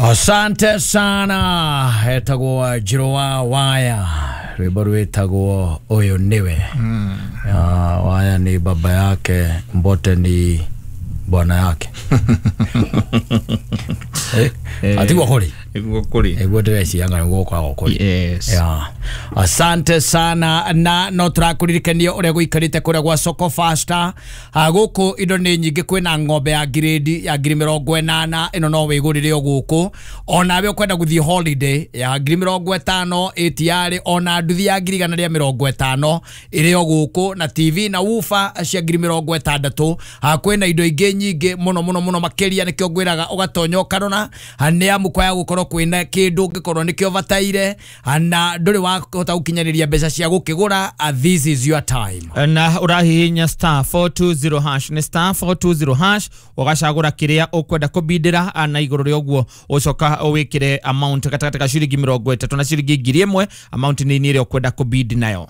Asante sana. Etagwo Njirũ wa Waya, rwĩmbo rwĩtagwo "Ũyũ Nĩwe". Waya ni baba yake, Mbote ni bwana yake. Atiguo kũrĩ. Nĩguo kũrĩ. Nĩguo ndĩreciria nĩguo gũkoragwo kũrĩ. Yes. Yeah. Asante sana, na no tũrakũririkania ũrĩa gũikarĩte kũrĩa gwa Soko Fasta. Gũkũ indo nĩ nyingĩ. Kwĩna ng'ombe ya ngirĩndi ya 80,000, ĩno no wĩgũrĩre o gũkũ. Onawe ũkwenda gũthiĩ holiday ya 50,000 ĩtiarĩ, ona nduthi ya 150,000 ĩrĩ o gũkũ, na TV na woofer cia 60,000. Kwĩna indo ingĩ nyingĩ mũno mũno mũno makĩria. Nĩkĩo ngwĩraga ũgatonya ũkarora, nĩ amu kwaya gũkorwo kwĩna kĩndũ ũngĩkorwo nĩkĩo bataire na ndũrĩ wahota gũkinyanĩria mbeca cia gũkĩgũra. This is your time. Na ũrahihinya *420#, nĩ *420#, ũgacagũra kĩrĩa ũkwenda kũbindĩra, na igũrũ rĩa ũguo ũcoka ũwĩkĩre amount gatagatĩ ka ciringi 30 na ciringi 1,000, amount nini ĩrĩa ũkwenda kũbindi nayo.